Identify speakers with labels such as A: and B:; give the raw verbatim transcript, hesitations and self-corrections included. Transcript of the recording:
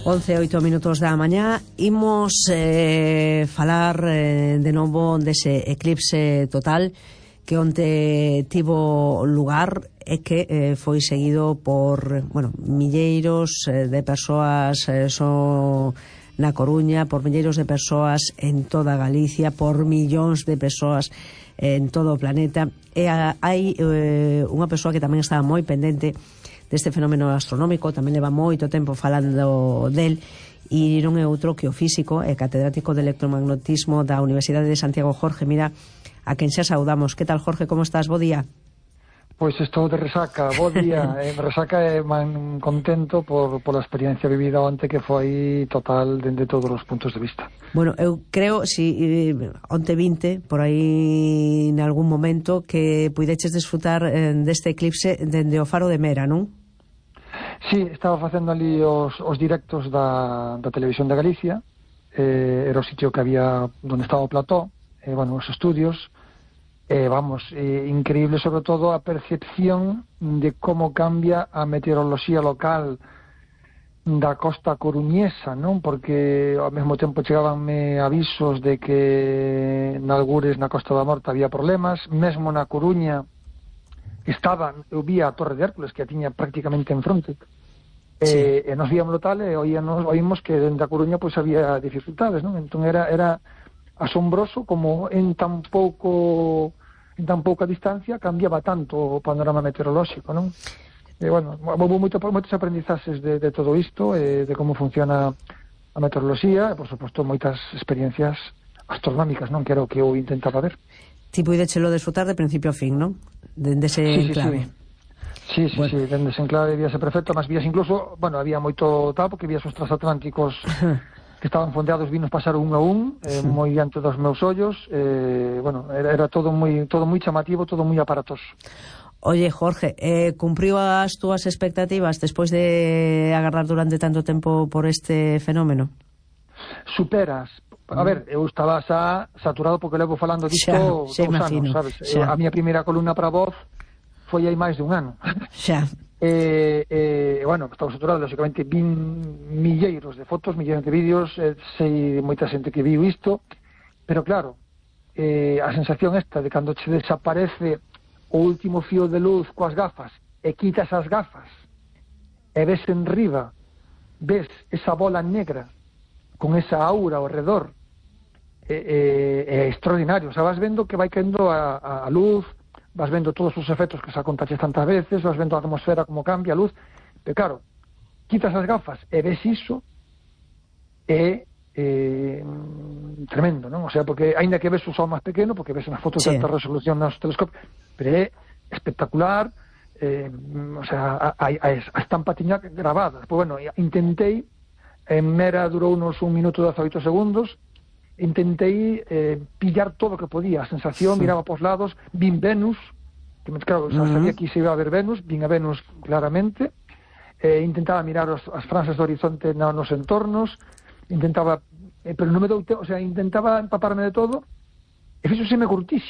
A: once e oito minutos da mañá. Imos eh, falar eh, de novo dese eclipse total que onte tivo lugar e que eh, foi seguido por, bueno, milleiros eh, de persoas eh, so na Coruña, por milleiros de persoas en toda Galicia, por millóns de persoas en todo o planeta. E a, hai eh, unha persoa que tamén estaba moi pendente deste fenómeno astronómico, tamén leva moito tempo falando del, e non é outro que o físico e catedrático de electromagnetismo da Universidade de Santiago, Jorge Mira, a quen xa saudamos. Que tal, Jorge, como estás? Bo día.
B: Pois estou de resaca, bo día. eh, resaca e man contento por, por a experiencia vivida onte, que foi total dende todos os puntos de vista.
A: Bueno, eu creo, si eh, onte vinte, por aí en algún momento, que puideches desfrutar eh, deste eclipse dende o Faro de Mera, non?
B: Sí, estaba facendo ali os, os directos da, da Televisión de Galicia, eh, era o sitio que había donde estaba o plató, eh, bueno, os estudios. Eh, vamos, eh, increíble sobre todo a percepción de como cambia a meteoroloxía local da costa coruñesa, non? Porque ao mesmo tempo chegabanme avisos de que nalgures na Costa da Morte había problemas, mesmo na Coruña estaba, eu vía a Torre de Hércules, que a tiña prácticamente en fronte, sí. e, e nos víamoslo tal, e oíanos, oímos que dentro da Coruña pois había dificultades, non? Entón era... era asombroso como en tan pouco en tan pouca distancia cambiaba tanto o panorama meteorolóxico, non? E, bueno, houve moito, moitos aprendizaxes de, de todo isto, eh, de como funciona a meteoroloxía, e, por suposto, moitas experiencias astronómicas, non? Que era o que eu intentaba ver.
A: Ti puidechelo desfrutar de principio a fin, non? Dende ese
B: sí,
A: enclave.
B: Sí, sí,
A: bueno.
B: sí, dende ese enclave víase perfecto, mas vías incluso, bueno, había moito tal, porque vías os transatlánticos que estaban fondeados, vinos pasar un a un, eh, sí. moi diante dos meus ollos, eh, bueno, era, era todo moi todo moi chamativo, todo moi aparatoso.
A: Oye, Jorge, eh, cumpriu as túas expectativas despois de agarrar durante tanto tempo por este fenómeno?
B: Superas. A mm. ver, eu estaba xa saturado porque levo falando disto dous anos, sabes? Eu, a miña primeira columna para Voz foi hai máis dun ano.
A: Xa.
B: E, eh, bueno, estamos saturados, lógicamente, vin milleiros de fotos, milleiros de vídeos, eh, sei moita xente que viu isto, pero claro, eh, a sensación esta de cando che desaparece o último fío de luz coas gafas e quitas as gafas e ves en riba, ves esa bola negra con esa aura ao redor, é eh, eh, eh, extraordinario. O sea, vas vendo que vai caendo a, a, a luz, vas vendo todos os efectos que xa contaches tantas veces, vas vendo a atmosfera como cambia a luz, pero claro, quitas as gafas e ves iso, é eh, tremendo, non? O sea, porque aínda que ves o sol máis pequeno, porque ves nas fotos sí. de alta resolución nos telescopios, pero é espectacular, eh, o sea, a, a, a estampa tiña grabada. Pois, bueno, intentei, en Mera durou unos un minuto e dezaoito segundos, intentei eh, pillar todo o que podía, a sensación, sí. miraba pos lados, vin Venus, que claro, uh-huh. sabía que se iba a ver Venus, vin a Venus claramente, eh, intentaba mirar os, as franxas do horizonte na, nos entornos, intentaba, eh, pero non me dou, o sea, intentaba empaparme de todo, e fixo se me curtixe.